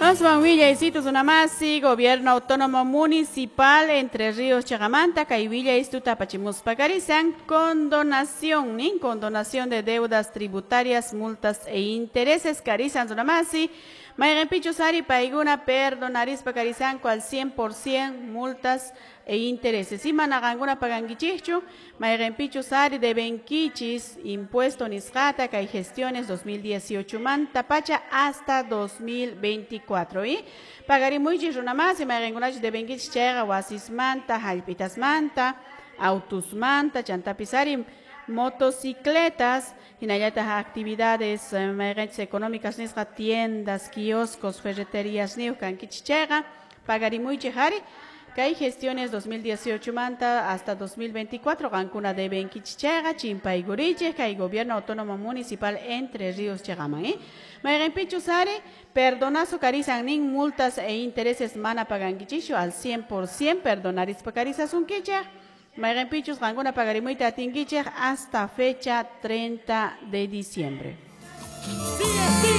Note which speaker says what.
Speaker 1: Aswan willaysitu runamasi, Gobierno Autónomo Municipal Entre Ríos chiqamanta, kay willaystuta apachimuspa karisan, condonación, nin, condonación de deudas tributarias, multas e intereses, karisan runamasi, mayqinpichus ari paykuna perdonarispa karisanku al 100% multas e intereses. Imana qankuna pagankichikchu, mayqinpichus ari debenkichis impuesto nisqata kay gestiones 2018 manta pacha hasta 2024. Y pagarimuychis runamasi, mayqinkunachus debenkichis chayqa wasismanta, hallp'itasmanta, autusmanta, chantapis ari motocicletas, hinallataq actividades mayqinchis económicas nisqa tiendas, kioscos, ferreterías niyuq kankichis chayqa pagarimuychik ari kay gestiones 2018 manta hasta 2024 qankuna debenkichis chayqa chimpaykurichik kay Gobierno Autónomo Municipal Entre Ríos chiqaman, eh? Mayqinpichus ari perdonazo karisan nin multas e intereses mana pagankichikchu al 100% perdonarispa karisasunkichik. Mayqinpichus qankuna pagarimuyta atinkichik hasta fecha 30 de diciembre.
Speaker 2: Sigue, sigue.